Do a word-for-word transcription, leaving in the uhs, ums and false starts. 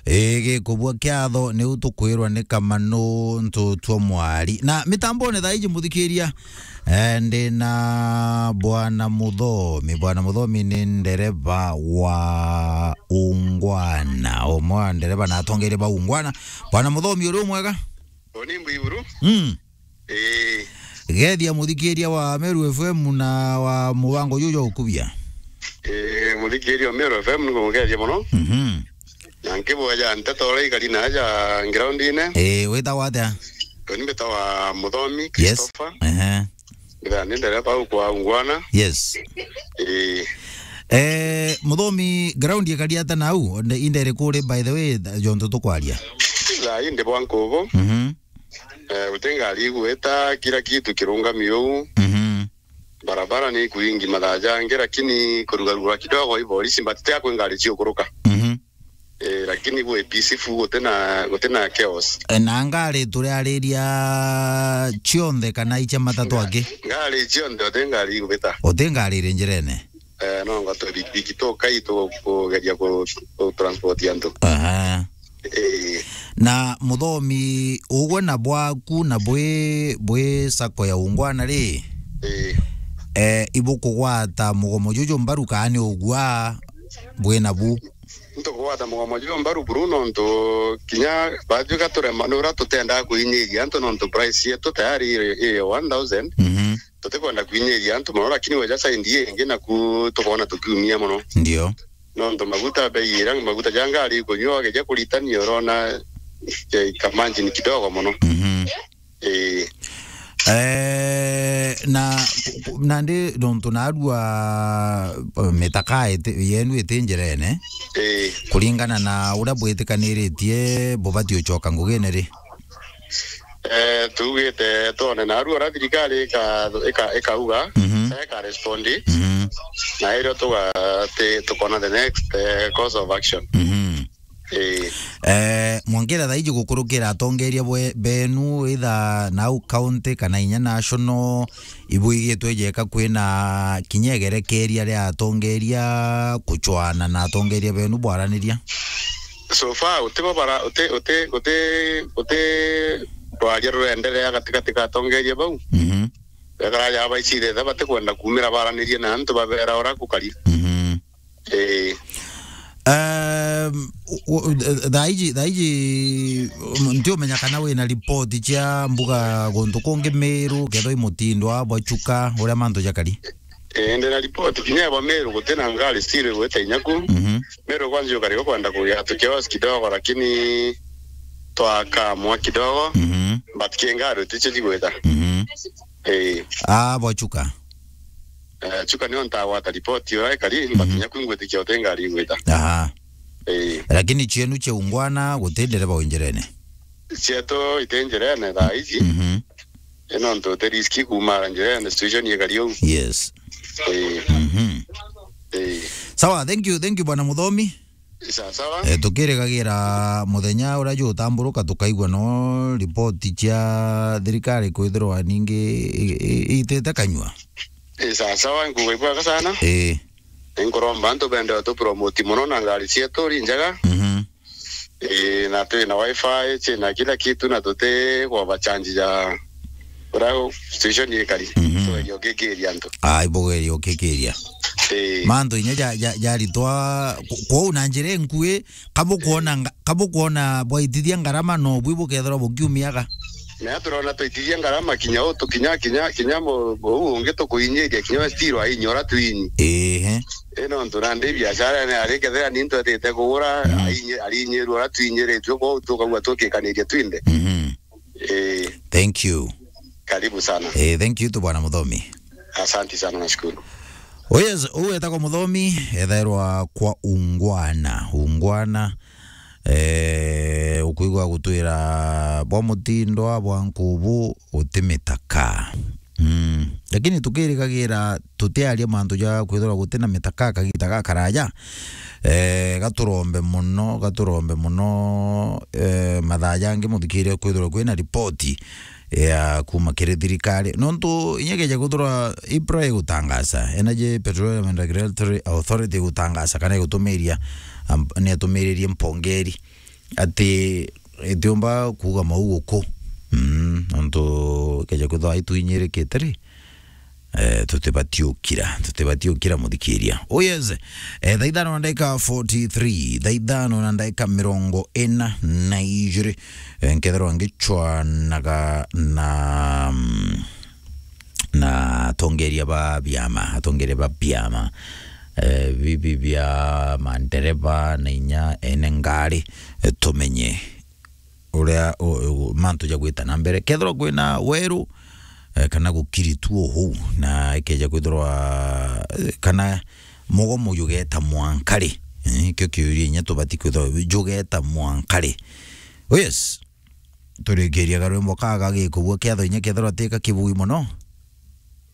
Ii, gikubua kiatho, niu tukwirwa ni Kamanu Ntutua Mwari. Na mitambone thaa iji, muthikiria, eh, ndi na Bwana Muthomi. Bwana Muthomi ni ndereva wa Ungwana. Umwe wa ndereva na atongeria ba Ungwana. Bwana Muthomi, uri umwega? Uni mbwiburu. Mm. Ii. Gethia muthikiria wa Meru F M na wa mubango juju jwa ukubia. Ii, muthikiria wa Meru F M ni kumugethia mono. Mhm. Na nkiboya nteto uria ikari na aja groundine. Ii, witagwa atia? Uni mbitagwa Muthomi Christopher. Ehe. Mbithaa ni ndereva au kwa Ungwana. Yes. Ii. Eh, Muthomi, ground ikari atia nau? Nde-, inde iriku ri, by the way, jontu tukwaria? Thaa ii ndi bwa nkubu. Mhm. Eh, guti ngari igwita, kila kitu kirungami uu. Mhm. Barabara ni ikwingi mathaa jangi, lakini kurugarugura kidogo i borisi, but ti akwi ngari ciukuruka. Mhm. Eh, lakini gwi peaceful, guti na, guti na chaos. Eh, na ngari turiariria cionthe kana icia matatu angi? Ngari cionthe, uti ngari igwita. Uti ngari iri njirene? Eh, no ngwa tubikibiki tukai tu-, kugeria ku-, ku transport antu. Aha. Ii. Na Muthomi, ugwe na bwaku na bwi, bwi sacco ya Ungwana ri? Ii. Eh, ibukugwata mugomo juju mbaru kaa ni ugua bwi nabu? Ntukugwata mugomo juju mbaru buru nontu kinya batwika turema ni uria tutendaa kuinyiria antu nontu price yetu tayari iri, iri one thousand. Mhm. Tutikwenda kwinyiria antu mono, lakini weja side ingi naku tukoona tukiumia mono. Ndio. Nontu maguta bei iria maguta ja ngari ikunyua, wageja kuritania urona, eh, kamanjini kidogo mono. Mhm. Ii. Eh, na, nandi nontu narua, eh, mitaka iti-, yenu iti njirene, ii, kuringana na uria bwitikaniritie, bubati ucoka ngugine ri? Eh, tugite twone naru uria thirikari ika-, ika-, ikauga, mhm, sa ika respond, mhm, na irio tuga-, ti-, tukona the next, eh, course of action. Mhm. Ii. Eh, mwongera thaiji gukurukira atongeria bwe-, benu, either nau county kana inya national, ibwigitwe jeka kwina kinya igerekeria ria atongeria kuchwana na atongeria benu bwaraniria? So far, uti bo bara-, uti, uti, uti, uti rwaria rurenderea gatigati ga atongeria bau. Mhm. Ekara ja baicithetha batikwenda kumira baranirie na antu babera ura kukari. Mhm. Ii. Um, u-, u-, thaiji, thaiji, um, ntiumenya kana wina ripoti cia mbuga guntu kungi Miru, kethwa i Mutindwa, bwa Chuka, uria mantu jakari? Ii, ndina ripoti kinya ya bwa Miru, gutina ngari still igwite inya ku. Mhm. Miru kwanza ukari ukwenda kugia tu chaos kidogo, lakini twakamwa kidogo. Mhm. But ki ngari uticio cigwita. Mhm. Ii. Ah, bwa Chuka. Eh, Chuka nio ntagwata ripoti uria ikari, but mhm, kinya ku ngwitikia uti ngari igwita. Aha. Ii. Lakini cienu cia Ungwana guti ndereba wi njirene? Cietu iti njirene thaa iji. Mhm. Ii, nontu uti riski kumara njirene, situation ikari uu. Yes. Ii. Mhm. Ii. Sawa, thank you, thank you, Bwana Muthomi. Sawa, sawa. Eh, tukirigagira muthenya uria jugutamburuka tukaigua no ripoti cia thirikari kwithirwa ningi i-, i-, itite kanyua. Ii, sawa, sawa, nkuigua ibwega sana. Ii. Nkuromba antu bende tu promote mono na ngari cietu ri njega. Mhm. Ii, na twi na wifi, twi na kila kitu, na tuti kwa bachanji ja uria situation ikari. Mhm. Tugerie ukikiria antu. Ai, bugerie ukikiria. Ii. Mantu inya ja, ja, jaritwa ku-, kwou na njira inkui, kabukwona nga-, kabukwona bwaitithia ngarama no bwi bukethirwa bukiumiaga. Na turona twaitithia ngarama kinya u tukinya, kinya, kinya mu-, uu ungi tukuinyiria kinya we still ainyi uria twinyi. Ehe. Ii, nontu nandi biashara ni ari kethira ni ntwetite kugura, mm, ainyi-, arinyirua uria twinyiritue, kwou tukauga tukikaniria twinthe. Mhm. Ii. Thank you. Karibu sana. Eh, thank you tu Bwana Muthomi. Asante sana, nashukuru. Oh yes, uu etagwa Muthomi, ethairwa kwa Ungwana. Ungwana, eh, ukwigua gutwira bwa Mutindwa, bwa Nkubu, guti mitaka. Mm. Lakini tukirigagira tutiaria mantu ja kwithirwa guti na mitaka kagita gakaraja. Eh, gaturombe mono, gaturombe mono, eh, mathaa jangi muthikirie kwithirwa kwina ripoti ya kuma kiri thirikari. Nontu inya keja kwithirwa EPRA igutangaza, Energy Petroleum and Regulatory Authority igutangaza kana igutumiria, am-, ni atumiririe mpongeri. ati itiumba kuuga mau guku. Mm, nontu keja kwithwa itwinyirikite ri, eh, tutibati ukira, tutibati ukira, muthikiria. Oh yes, eh, thaa ithano na ndagika forty-three, thaa ithano na ndagika mirongo ina na ijiri, eh, nkethirwa ngichwanaga na, mm, na atongeria ba biama, atongeria ba biama, eh, bibi bia mandereba na inya ene ngari, eh, tumenye uria, u-, u-, mantu jagwita na mbere. Kethirwa kwina weru, eh, kana gukiri tu uhuu, na ikeja kwithirwa, eh, kana mugomo jugeta mwankari, eh, kio kiuria inya tubati kwithirwa jugeta mwankari. Oh yes, turikiria karwimbo kaga gikubua kiatho inya kethirwa tika kibui muno.